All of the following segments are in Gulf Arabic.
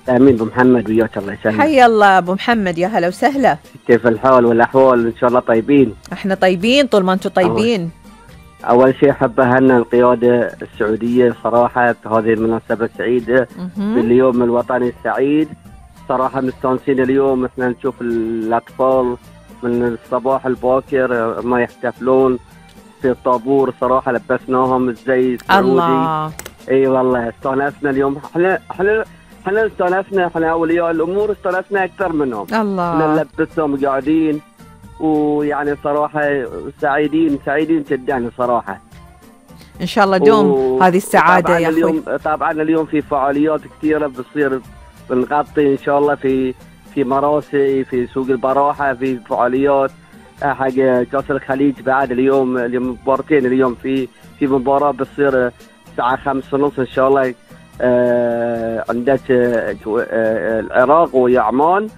امين ابو محمد وياك، الله يسلمك. حي الله ابو محمد، يا هلا وسهلا. كيف الحال والاحوال؟ ان شاء الله طيبين. احنا طيبين طول ما انتم طيبين. اول شيء احب اهنئ القياده السعوديه صراحه بهذه المناسبه السعيده باليوم الوطني السعيد. صراحه مستانسين اليوم، احنا نشوف الاطفال من الصباح الباكر ما يحتفلون في الطابور، صراحه لبسناهم الزي السعودي. الله. اي والله استانسنا اليوم. احنا استانسنا، احنا اولياء الامور استانسنا اكثر منهم. الله. احنا نلبسهم قاعدين، ويعني صراحه سعيدين جدا صراحه. ان شاء الله دوم هذه السعاده يا اخوي. طبعا اليوم في فعاليات كثيره بتصير، بنغطي ان شاء الله في مراسي، في سوق البراحه، في فعاليات حق كاس الخليج بعد اليوم مباراتين. اليوم في مباراه بتصير الساعه 5:30 ان شاء الله، عندك العراق ويا عمان،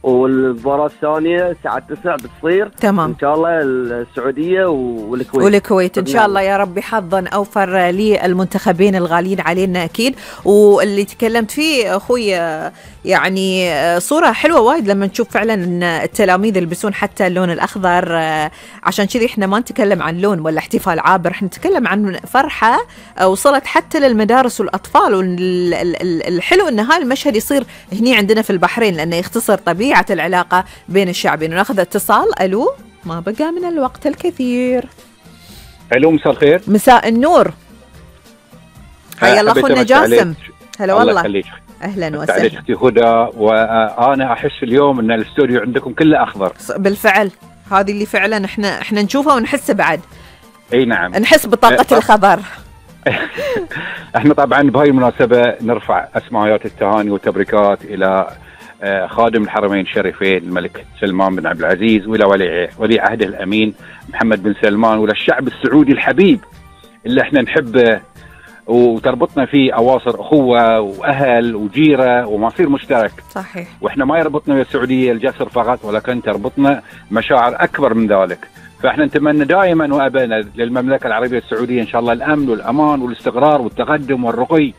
والمباراة الثانية الساعة 9 بتصير. تمام إن شاء الله السعودية والكويت إن شاء الله يا رب. حظا أوفر للمنتخبين الغاليين علينا أكيد. واللي تكلمت فيه أخوي يعني صورة حلوة وايد لما نشوف فعلا أن التلاميذ يلبسون حتى اللون الأخضر. عشان كذي إحنا ما نتكلم عن لون ولا احتفال عابر، إحنا نتكلم عن فرحة وصلت حتى للمدارس والأطفال. والحلو أن هذا المشهد يصير هني عندنا في البحرين، لأنه يختصر طبيعة العلاقة بين الشعبين. وناخذ اتصال. ألو، ما بقى من الوقت الكثير. ألو، مساء الخير. مساء النور. حيا الله أخونا جاسم. هلا والله. الله يخليك. أهلا وسهلا. أختي هدى، وأنا أحس اليوم أن الاستوديو عندكم كله أخضر. بالفعل هذه اللي فعلا احنا نشوفها ونحس بعد. اي نعم، نحس بطاقة الخضر. احنا طبعا بهاي المناسبة نرفع اسمايات التهاني والتبريكات الى خادم الحرمين الشريفين الملك سلمان بن عبد العزيز، والى ولي عهده الامين محمد بن سلمان، وللشعب السعودي الحبيب اللي احنا نحبه وتربطنا فيه اواصر اخوه واهل وجيره ومصير مشترك. صحيح. واحنا ما يربطنا بالسعوديه الجسر فقط، ولكن تربطنا مشاعر اكبر من ذلك. فاحنا نتمنى دائما وابدا للمملكه العربيه السعوديه ان شاء الله الامن والامان والاستقرار والتقدم والرقي.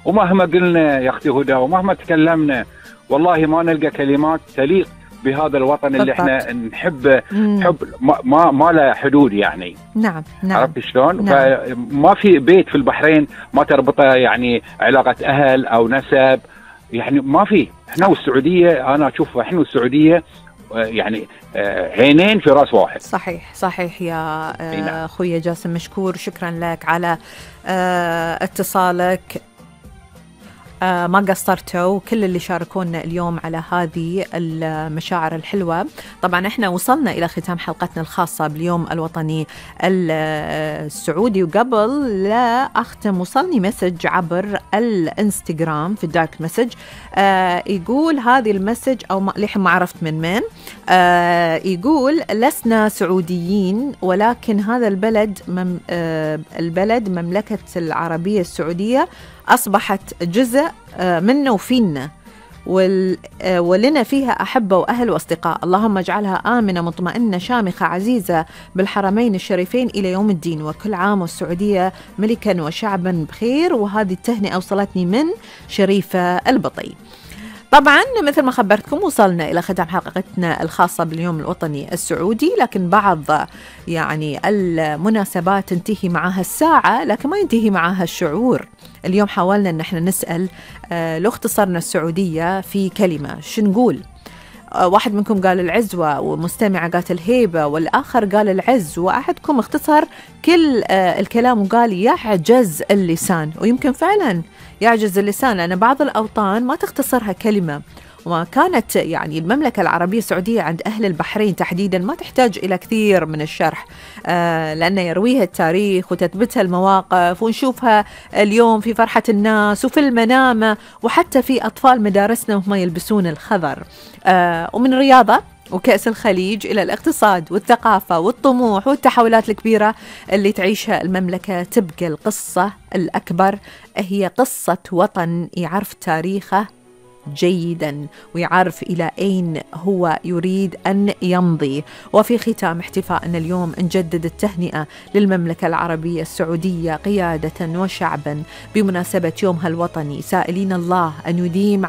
ومهما قلنا يا اختي هدى ومهما تكلمنا والله ما نلقى كلمات تليق بهذا الوطن اللي احنا نحبه حب ما له حدود يعني. نعم. عرفت شلون؟ نعم. فما في بيت في البحرين ما تربطه يعني علاقه اهل او نسب، يعني ما في. احنا والسعوديه، انا اشوف احنا والسعوديه يعني عينين في راس واحد. صحيح يا اخويا جاسم، مشكور، شكرا لك على اتصالك. ما قصرتوا كل اللي شاركونا اليوم على هذه المشاعر الحلوة. طبعا احنا وصلنا إلى ختام حلقتنا الخاصة باليوم الوطني السعودي، وقبل لا أختم وصلني مسج عبر الانستغرام في الدايركت مسج. يقول هذه المسج أو لحين ما عرفت من يقول: لسنا سعوديين، ولكن هذا البلد مملكة العربية السعودية أصبحت جزء منا وفينا، ولنا فيها أحبة وأهل وأصدقاء. اللهم اجعلها آمنة مطمئنة شامخة عزيزة بالحرمين الشريفين إلى يوم الدين، وكل عام والسعودية ملكا وشعبا بخير. وهذه التهنئة وصلتني من شريفة البطي. طبعا مثل ما خبرتكم وصلنا إلى ختام حلقتنا الخاصة باليوم الوطني السعودي، لكن بعض يعني المناسبات تنتهي معها الساعة لكن ما ينتهي معها الشعور. اليوم حاولنا أن احنا نسأل لو اختصرنا السعودية في كلمة شو نقول؟ واحد منكم قال العزوة، ومستمعة قالت الهيبة، والآخر قال العز، وأحدكم اختصر كل الكلام وقال يعجز اللسان. ويمكن فعلا يعجز اللسان، لأن بعض الأوطان ما تختصرها كلمة. وكانت يعني المملكة العربية السعودية عند أهل البحرين تحديدا ما تحتاج إلى كثير من الشرح، لأن يرويها التاريخ وتثبتها المواقف، ونشوفها اليوم في فرحة الناس وفي المنامة، وحتى في أطفال مدارسنا وهم يلبسون الخضر. ومن الرياضة وكأس الخليج إلى الاقتصاد والثقافة والطموح والتحولات الكبيرة اللي تعيشها المملكة، تبقى القصة الأكبر هي قصة وطن يعرف تاريخه جيدا ويعرف إلى أين هو يريد أن يمضي. وفي ختام احتفائنا اليوم نجدد التهنئة للمملكة العربية السعودية قيادة وشعبا بمناسبة يومها الوطني، سائلين الله أن يديم